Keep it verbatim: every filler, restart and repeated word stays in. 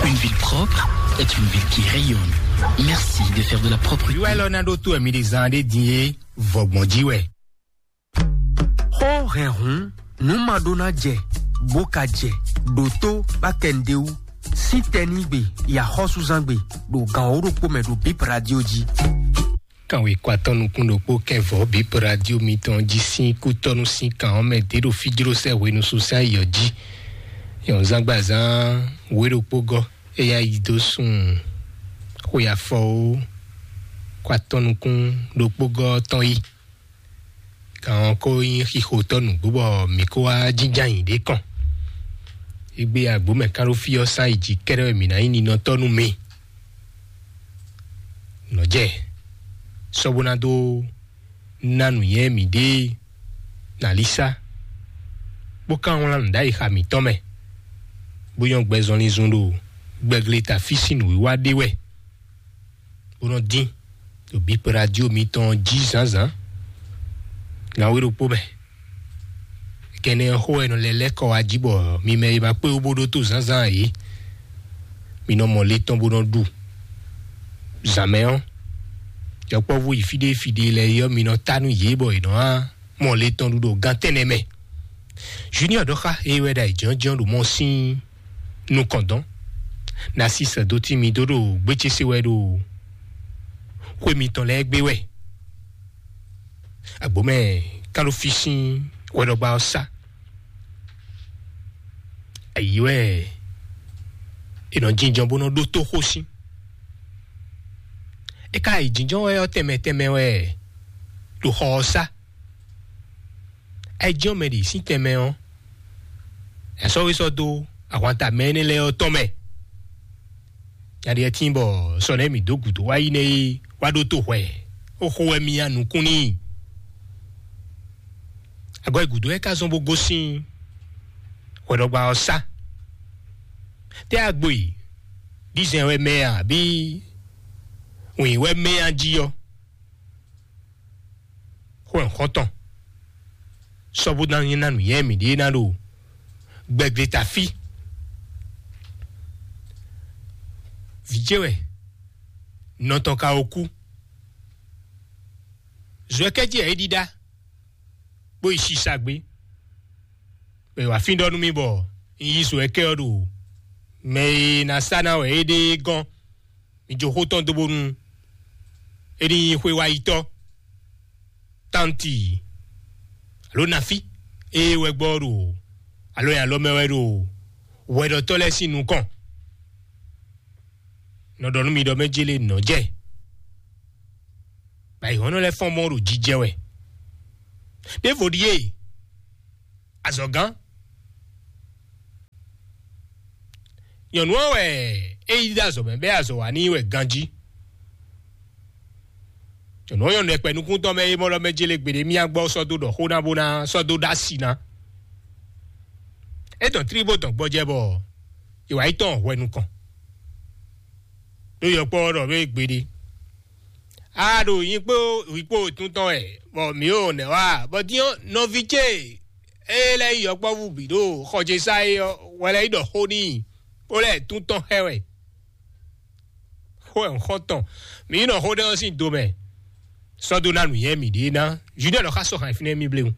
Une ville propre est une ville qui rayonne. Merci de faire de la propreté. Yúwá élɔ́ ná ɖó tó ɛmí ɖé zán ɖé din é, vɔgbɔn jí wɛ. Xó hɛnhun nú ma ɖó ná jɛ, bó ka jɛ, ɖo tó bá kɛ nɖé wú, sín tɛnígbe, yaxɔ́súzángbe, ɖo gan wǒ ɖokpó mɛ ɖo Bip Radio jí. Kanwekɔ atɔ́ nukún ɖokpó kɛnvɔ́ Bip Radio mitɔn jí sín kútɔ́nú sín kan ɔ́ mɛ dě ɖo fí jló sɛ́ hwenu sún sɛ́ ayǐ ɔ́ jí. Nyɔ̌nzágbazán wě ɖokpó gɔ́, é yá yi dó sun xwe afɔ ó, kɔ atɔ́ nukún ɖokpó gɔ́ tɔn yi. Kan ɔ́ ko nyí xixotɔ́ nǔgbó bɔ mǐ kó wá jínjɔ́n ayǐ ɖé kɔn. Égbé agbǒ mɛ kán ɖó fí ɔ́ sán yi jǐ kɛ́ɖɛ́ wɛ mǐ ná nyí ninɔtɔ́ nú mi. Nɔ̌ jɛ sɔ́ bó ná dó ná nǔnywɛ́ mǐɖée nalísá, bó ka wlán nǔ ɖ'ayǐ xa mǐtɔn mɛ, bó nyɔ́ gbɛ zɔnlin zun ɖo gbɛgleta fí sín nǔwiwa ɖé wɛ, bó nɔ́ dín ɖo bǐ kpé radio mitɔn jí zǎnzǎn. Nǎwe ɖokpó mɛ. Kɛnɛ ɔ́ xó wɛ nɔ lɛ́ lɛ́ kɔ wá jí bɔ mi mɛ e ma kpé wú bó ɖótó zǎnzǎn ǎ é, mi nɔ mɔ le tɔn bó nɔ ɖu. Zǎn mɛ ɔ́, yɔkpɔ́vú yi fí ɖé fí ɖé lɛ́ɛ é ɔ́, mi nɔ ta nú yě bɔ yě nɔ wá mɔ le tɔn ɖu ɖo gán tɛnɛ mɛ. Junior ɖɔ xá é wɛ ɖo ayǐjínjɔ́n ɖo mɔ sín nukɔn dɔn. Nasisɛ dó tí mi dó ɖo gbécésé wɛ ɖo xwé mitɔn lɛ́ɛ gbé wɛ. Agbǒmɛ kán ɖo fí sín hwɛɖɔgba ɔ́ sá. Ayǐ wɛ è nɔ jínjɔ́n bó nɔ ɖótó xó sín. É ka yi jínjɔ́n wɛ ɔ́, tɛnmɛ tɛnmɛ wɛ ɖo xɔ ɔ́ sá. Ayǐjínjɔ́n mɛ ɖě sín tɛnmɛ ɔ́, è sɔ́ wé sɔ́ dó ahwanta mɛ énɛ́ lɛ́ɛ ɔ́ tɔn mɛ. Nya ɖíe tíin bɔ sɔ nɛ́ mǐ dó gǔdo wá yi nɛ́ é wá ɖótó hwɛ, ó xo wɛ mì nyi nukún n'i. Agɔ́ e gǔdo wɛ ka zɔ́n bó gosín hwɛɖɔgba ɔ́ sá. Tɛ́ agbo e ɖízɛn wɛ mɛ a, abǐ wǐn wɛ mɛ a jí ɔ́? Xó ɛ xɔ́ntɔn sɔ́ bó ná nyí ná nǔnywɛ́ mǐɖée ná ɖo gbɛgbléta fí. Vǐ ce wɛ nɔ tɔn ka ko kú. Zɔ́ ɛ kɛ́ jí wɛ é ɖíɖá, bó yi sisa gbé. Bɔ è wǎ fín ɖɔ nú mì bɔ un yí zɔ́ ɛ kɛ́ ɔ́ ɖo mɛ e ná sá ná wɛ é ɖe é gɔ́n. Mi jó xó tɔn dó bónú é ní nyí xwé wá yi tɔ́, tánti, alo nafí, ée wɛ gbɔ ɖo alo nyi alɔ mɛ wɛ ɖo hwɛɖɔtɔ́ lɛ́ɛ sín nukɔn. Nɔ ɖɔ nú mi ɖɔ mɛ jélé nɔ jɛ, bɔ ayǐhɔ́nɔ lɛ́ɛ fɔ́n mɔ ɖo jijɛ wɛ. Ɖěvo ɖíe azɔ̌gán. Nyɔ̌nu ɔ́ wɛ é yi dó azɔ̌ mɛ bɛ́ azɔ̌ wa n'i wɛ ganjí. Nyɔ̌nu ɔ́ nyɔ́ nɛkpɛ nukúntɔ́ mɛ é mɔ ɖɔ mɛ jélé gbeɖé mì agbɔ sɔ́ dó ɖɔ xó ná bó ná sɔ́ dó ɖó asi ná. É dɔn tlí bó dɔn gbɔjɛ bɔ è wǎ yi tɔn hwɛ nukɔn. Ɖó yɔkpɔ́ ɔ́ ɖɔ nú é gbeɖé. A ɖo nyi kpó wǐ kpó wětún tɔn wɛ, bɔ mǐ ɖo nɛ̌ wa, bɔ din ɔ́, nɔví ce e lɛ́ nyí yɔkpɔ́vú bǐ ɖo xɔ ce sá é ɔ́, wɛ lɛ́ yi ɖɔ xó n'i, bó lɛ́ tún tɔn xɛ wɛ. Xó wɛ un xɔ tɔn. Mǐ yi nɔ xó ɖé ɔ́ sín do mɛ. Sɔ́ dó ná nǔnywɛ́ mǐɖée ná. Judɛ́ɛ lɔ xá sɔ́ hǎn fínɛ́ mì bléwún.